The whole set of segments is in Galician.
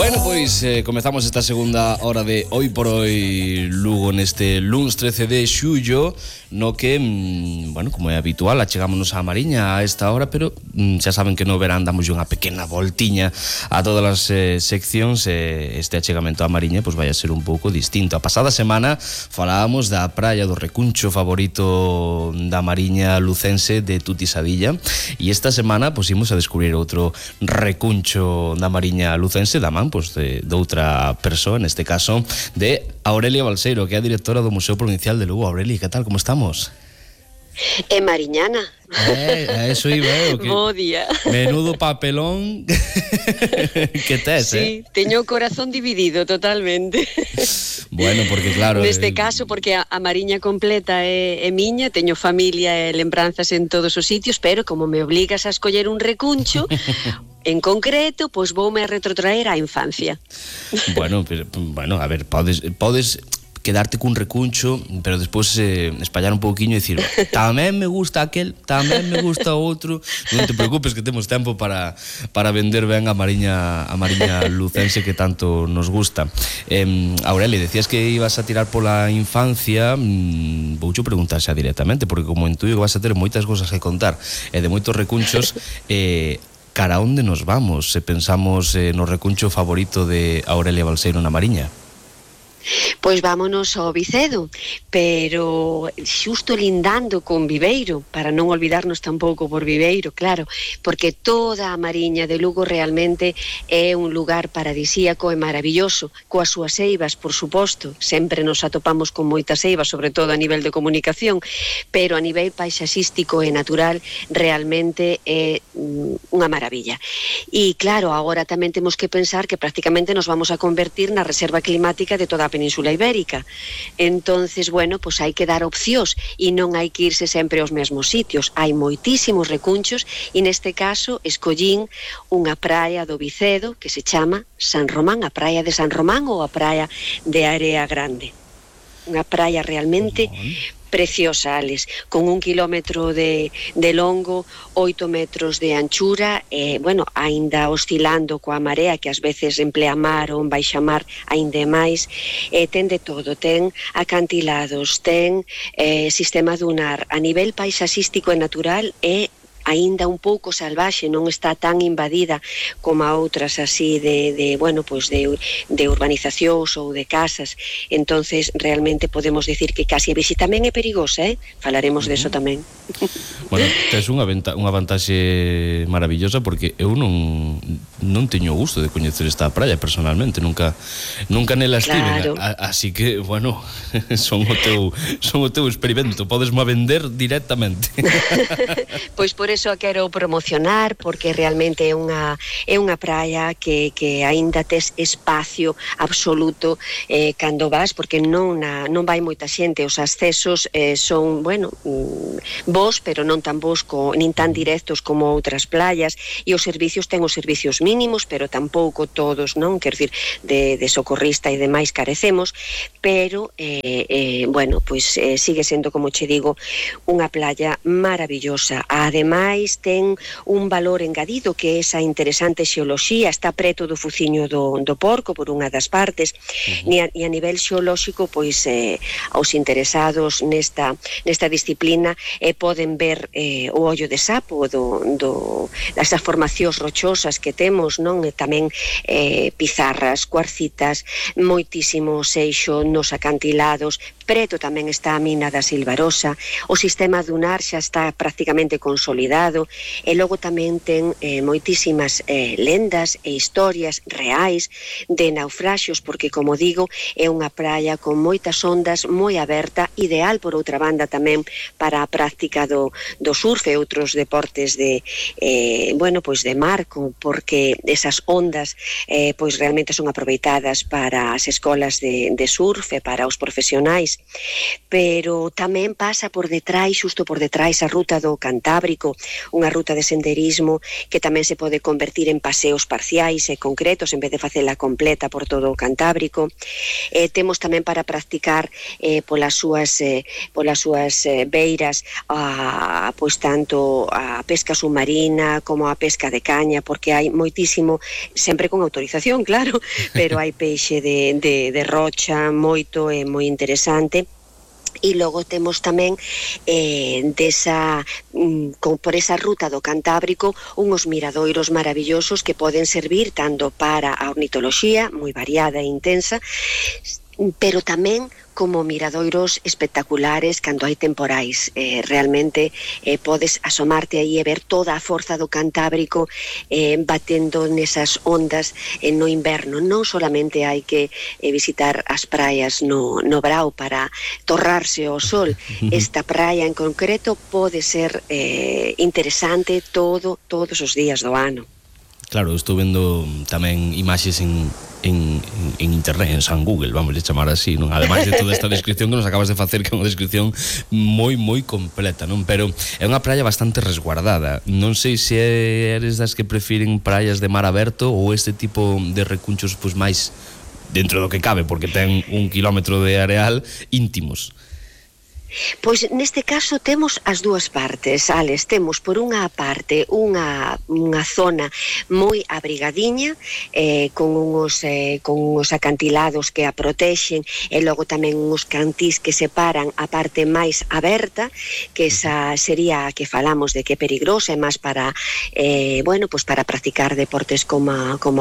Bueno, pois comezamos esta segunda hora de Hoy por Hoy Lugo neste luns 13 de xullo, no que, bueno, como é habitual, achegámonos á Mariña a esta hora, pero xa saben que no verán damos unha pequena voltiña a todas as seccións, este achegamento á Mariña pois vai a ser un pouco distinto. A pasada semana falábamos da praia do recuncho favorito da Mariña lucense de Tutisadilla, e esta semana pois imos a descubrir outro recuncho da Mariña lucense da man pois de outra persoa, neste caso de Aurelia Balseiro, que é a directora do Museo Provincial de Lugo. Aurelia, que tal, como estamos? Mariñana. Eso iba, que bo día. Menudo papelón que tes, sí, teño o corazón dividido totalmente. Bueno, porque claro, neste caso, porque a Mariña completa é miña, teño familia e lembranzas en todos os sitios, pero como me obligas a escoller un recuncho en concreto, pois voume a retrotraer á infancia. Bueno, a ver, podes quedarte cun recuncho, pero despois espallar un pouquiño e dicir, tamén me gusta aquel, tamén me gusta outro. Non te preocupes, que temos tempo para vender ben a Mariña lucense que tanto nos gusta. Aurelia, decías que ibas a tirar pola infancia. Voucho preguntar xa directamente, porque como intuyo que vas a ter moitas cosas que contar e de moitos recunchos, cara onde nos vamos se pensamos no recuncho favorito de Aurelia Balseiro na Mariña? Pois vámonos ao Vicedo, pero xusto lindando con Viveiro, para non olvidarnos tampouco por Viveiro, claro, porque toda a Mariña de Lugo realmente é un lugar paradisíaco e maravilloso, coas súas eivas, por suposto, sempre nos atopamos con moitas eivas, sobre todo a nivel de comunicación, pero a nivel paisaxístico e natural realmente é unha maravilla. E claro, agora tamén temos que pensar que prácticamente nos vamos a convertir na reserva climática de toda a Península Ibérica. Entonces, bueno, pues hai que dar opcións e non hai que irse sempre aos mesmos sitios. Hai moitísimos recunchos e neste caso escollín unha praia do Vicedo que se chama San Román, a praia de San Román ou a praia de Area Grande. Unha praia realmente preciosa, Alex, con 1 kilómetro de longo, 8 metros de anchura, bueno, aínda oscilando coa marea, que ás veces emplea mar ou baixa mar aínda máis, ten de todo, ten acantilados, ten sistema dunar, a nivel paisaxístico e natural é aínda un pouco salvaxe, non está tan invadida como a outras así de urbanizacións ou de casas. Entonces realmente podemos decir que casi a visita tamén é perigosa, falaremos deso tamén. Bueno, tes unha vantaxe maravillosa, porque eu non teño gusto de coñecer esta praia personalmente, nunca nela estive, así que, bueno, son o teu experimento, podesmo vender directamente. Pois por eso a quero promocionar, porque realmente é unha praia que aínda tes espacio absoluto cando vas, porque non vai moita xente, os accesos son, bueno, bos, pero non tan bos nin tan directos como outras playas, e os servicios ten os servicios mínimos, pero tampouco todos, non? Quer dicir, de socorrista e demais carecemos, pero bueno, pois sigue sendo, como che digo, unha playa maravillosa. Ademais, ten un valor engadido, que é esa interesante xeoloxía, está preto do Fuciño do Porco, por unha das partes, e a nivel xeolóxico, pois os interesados nesta disciplina poden ver o ollo de sapo das formacións rochosas que temos, non? E tamén pizarras, cuarcitas, moitísimo seixo nos acantilados. Preto tamén está a mina da Silvarosa, o sistema dunar xa está prácticamente consolidado, e logo tamén ten moitísimas lendas e historias reais de naufraxios, porque, como digo, é unha praia con moitas ondas, moi aberta, ideal, por outra banda, tamén para a práctica do surf e outros deportes de mar, porque esas ondas pois realmente son aproveitadas para as escolas de surf e para os profesionais. Pero tamén pasa por detrás, xusto por detrás, a ruta do Cantábrico, unha ruta de senderismo que tamén se pode convertir en paseos parciais e concretos en vez de facela completa por todo o Cantábrico. Temos tamén para practicar polas súas beiras pois tanto a pesca submarina como a pesca de caña, porque hai moitísimo, sempre con autorización, claro, pero hai peixe de rocha moito e moi interesante. E logo temos tamén por esa ruta do Cantábrico unhos miradoiros maravillosos que poden servir tanto para a ornitoloxía, moi variada e intensa, pero tamén como miradoiros espectaculares cando hai temporais. Realmente podes asomarte aí e ver toda a forza do Cantábrico batendo nesas ondas no inverno. Non solamente hai que visitar as praias no Brao para torrarse ao sol. Esta praia en concreto pode ser interesante todos os días do ano. Claro, estou vendo tamén imaxes en internet, en San Google, vamos a chamar así, non? Ademais de toda esta descripción que nos acabas de facer, que é unha descripción moi completa, non? Pero é unha praia bastante resguardada. Non sei se eres das que prefiren praias de mar aberto ou este tipo de recunchos pois máis dentro do que cabe, porque ten 1 kilómetro de areal, íntimos. Pois neste caso temos as dúas partes, Alex. Temos por unha parte unha zona moi abrigadiña con uns acantilados que a protexen e logo tamén uns cantís que separan a parte máis aberta, que esa sería a que falamos de que é peligrosa e máis para pois para practicar deportes como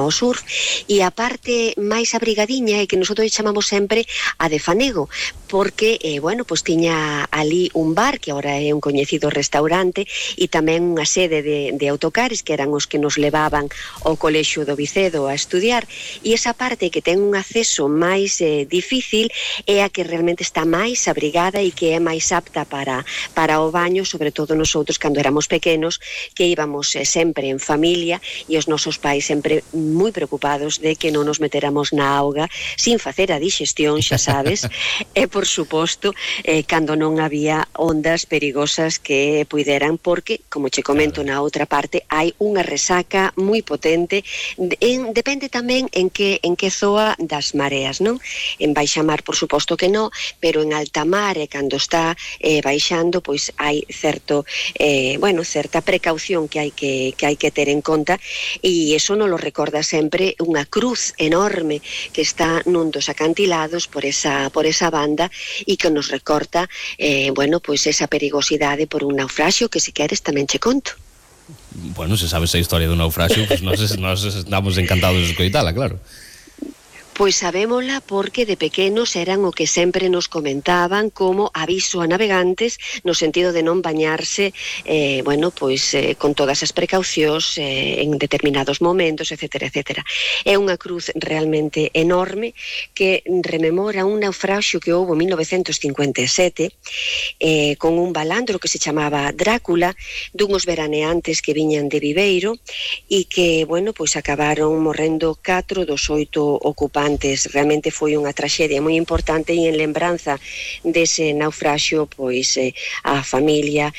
o surf, e a parte máis abrigadiña é que nosotros chamamos sempre a de Fanego, porque pois tiña ali un bar que agora é un coñecido restaurante e tamén unha sede de autocares que eran os que nos levaban ao colexio do Vicedo a estudiar, e esa parte que ten un acceso máis difícil é a que realmente está máis abrigada e que é máis apta para o baño, sobre todo nosotros cando éramos pequenos, que íbamos sempre en familia e os nosos pais sempre moi preocupados de que non nos meteramos na auga sin facer a digestión, xa sabes, e por suposto cando non había ondas perigosas que puideran, porque, como che comento na outra parte, hai unha resaca moi potente, depende tamén en que zoa das mareas, non? En baixa mar, por suposto que non, pero en alta mar e cando está baixando, pois hai certa precaución que hai que ter en conta, e eso nos lo recorda sempre unha cruz enorme que está nun dos acantilados por esa banda e que nos recorta pois esa perigosidade por un naufraxio que se queres tamén che conto. Bueno, se sabes a historia do naufraxio, pues nos estamos encantados de escoitala, claro. Pois sabémola porque de pequenos eran o que sempre nos comentaban como aviso a navegantes no sentido de non bañarse con todas as precaucións en determinados momentos, etcétera, etcétera. É unha cruz realmente enorme que rememora un naufraxio que houve en 1957 con un balandro que se chamaba Drácula, dunhos veraneantes que viñan de Viveiro e que, acabaron morrendo 4 dos 8 ocupantes. Realmente foi unha traxedia moi importante e en lembranza dese naufraxio, pois a familia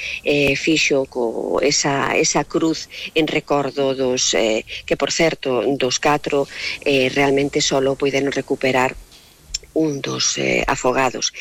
fixo esa cruz en recordo dos que, por certo, dos 4 realmente solo puideron recuperar un dos afogados.